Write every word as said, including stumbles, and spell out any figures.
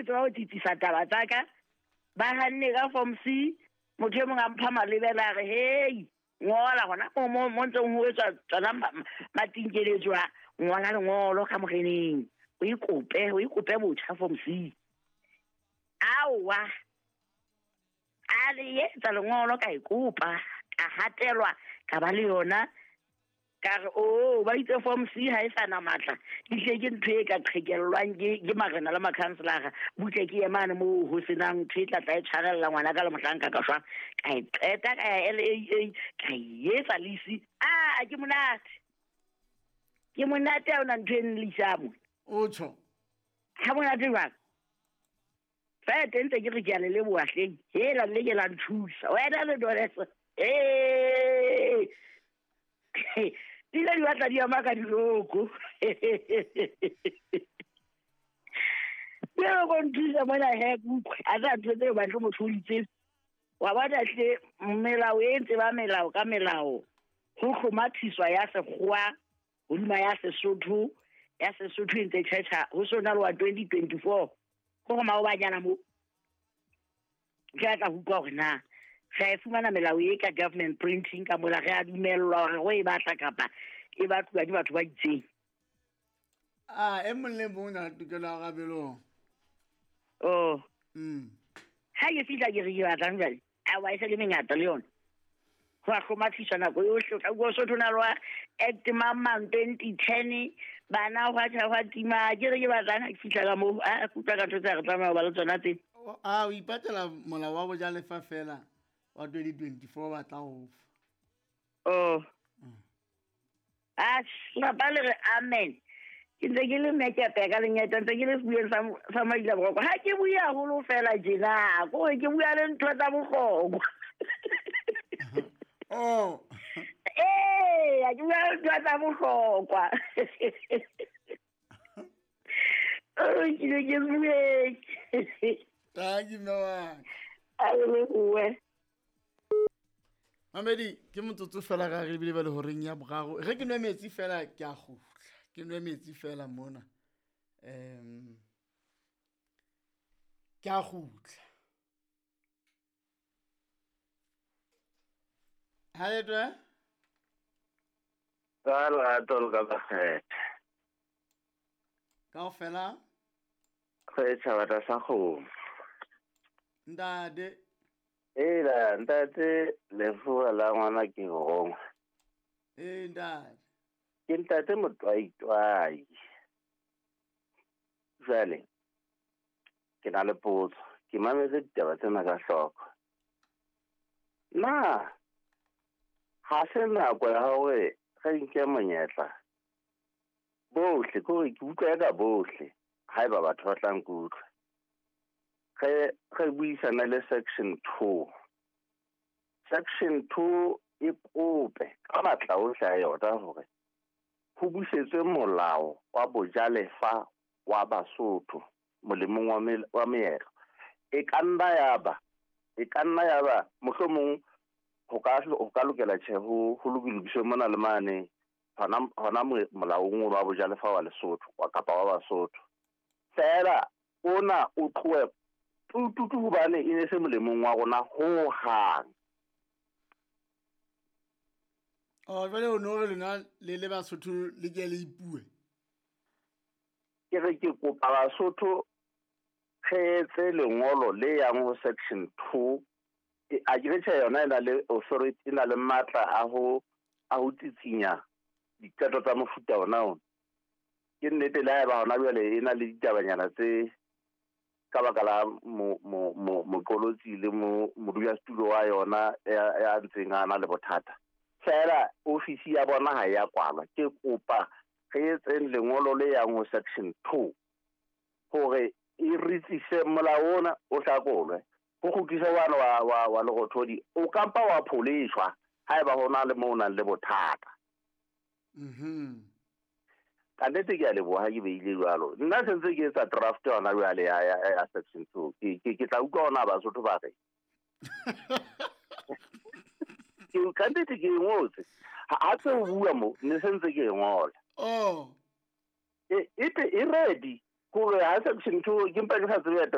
tseba ho tsitsisa taba tsa ka. Ba hanne ka form C, motho e mong a mpha malebela a re hei, ngola hona mo mo mo ntseng ho etswa tsona matinkeletswa, ngola lengolo ka moreneng. O ikope, o ikope botjha form C. Aowa. A le etsa lengolo ka ikopa, ka hatelwa, ka ba le yona. Ka re o ba itse form C ha e sa na matla, dihle ke ntho e ka qhekellwang ke ke marena le makhanselara, butle ke emane moo ho senang ntho e tla tla e tshwarella ngwana ka le mohlanka ka shwa. Ka e qeta ka ya L A A, ka e etsa lease. Ah, ke monate, ke monate ha ona ntho e nlisang mo. O tjho ha monate jwang? Fa teng ntse ke re ke a le leboha hleng, hela le ke la nthusa wena le Doreso. Eh, di ile di batla di ama ka diloko. Ke go nthusa mona he kutlwe, a tla ntho tseo batle motho o di tsebe. Wa bona hle melao e ntse ba melao ka melao, ho hlomathiswa ya sekgowa hodima ya Sesotho, ya Sesotho e ntse tjhetjha ho sona le wa twenty twenty-four. Go go maobanyana mo ke a tla utlwa hore na re a e fumana melao e ka government printing ka mola, re a dumellwa hore go e batla kapa e batluwa ke batho ba itseng. Ah, e mong le mong o na le tokelo ya rabelong. Oh. Mm. Ha ke fihla ke re ke batlang jwale, aowa e se le mengata le yona. Ho a hlomathiswa nako yohle, o tla utlwa Sotho na le wa Act mang mang twenty ten, bana hwa tjha hwa tima, ke re ke batlang ha ke fihla ka moo, a ke utlwa ka ntho tse re tlameha ho ba le tsona tse. A o ipatela molao wa bojalefa fela wa twenty twenty-four ba tla o fa. Oh. Mm. Ah, lapa le re amen. Ke ntse ke le mmekepe ka lenyeta, ntse ke le sebueng sa, sa Maila Boroko. Ha ke bue haholo fela tjena, kore ke bua le ntho tsa bohlokwa. Oh. Eh, ha ke bua le ntho tsa bohlokwa. Oh, ke ne ke bue. Thank you, mme wa ka. A le bue. Mamedi, ke motsotso fela ga re bile ba le horeng ya boraro. Re ke nwe metsi fela ke a kgutla. Ke nwe metsi fela mona. Em, ke a kgutla. Ha le twe? Ka lerato le ka bakgetha. Kaofela? Re tjhaba tlasa kgomo. Ntate. Ela, ntate, lefuwa la ngwana ke rongwa. Eh, ntate. Ke ntate motwaitwai. Jwale, ke na le potso. Ke mametse ditaba tsena ka hloko. Na ha se nako ya hore re nke monyetla bohle, ke hore ke utlwa ka bohle, haeba batho ba tla nkutlwa. Re, re buisana le section two. Section two e kope ka matla ohle a yona hore ho busetswe molao wa bojalefa wa Basotho molemong wa mel-, wa meetlo. E ka nna ya ba, e ka nna ya ba mohlomong ho ka, ho ka lokela tjhe ho, ho lokiswe mona le mane hona, hona mo-, molaong wa bojalefa wa Lesotho, wa kapa wa Basotho. Feela ona o tlohe tututu hobane e ne se molemong wa rona ho hang. Oh, jwale o no re lona le le Basotho le ke le ipue. Ke re ke kopa Basotho re etse lengolo le yang ho section two. E, a ke re tjhe yona e na le authority, e na le matla a ho, a ho tsitsinya diqeto tsa mofuta ona ona. Ke nnete le haeba hona jwale e na le ditabanyana tse ka baka la mo-, mo-, mo-, moqolotsi le mo-, modulasetulo wa yona ya, ya ntseng a na le bothata. Feela ofisi ya bona ha ya kwalwa. Ke kopa re etseng lengolo le yang ho section two hore e re tsise molao ona o hlakolwe. Ho kgutlise wane wa, wa, wa Lerothodi, o kampa wa pholeshwa haeba ho na le moo o nang le bothata. Mhm. Ka nnete ke a leboha ha ke beile jwalo. Nna se ntse ke etsa draft yona jwale ya, ya, ya section two. Ke, ke, ke tla utlwa hona Basotho ba re. Ke ka nnete ke e ngotse. Ha, ha tse o bua mo, ne se ntse ke e ngola. Oh. E, e te, e ready. Hore ha section two, ke mpa ke sa tsebe ya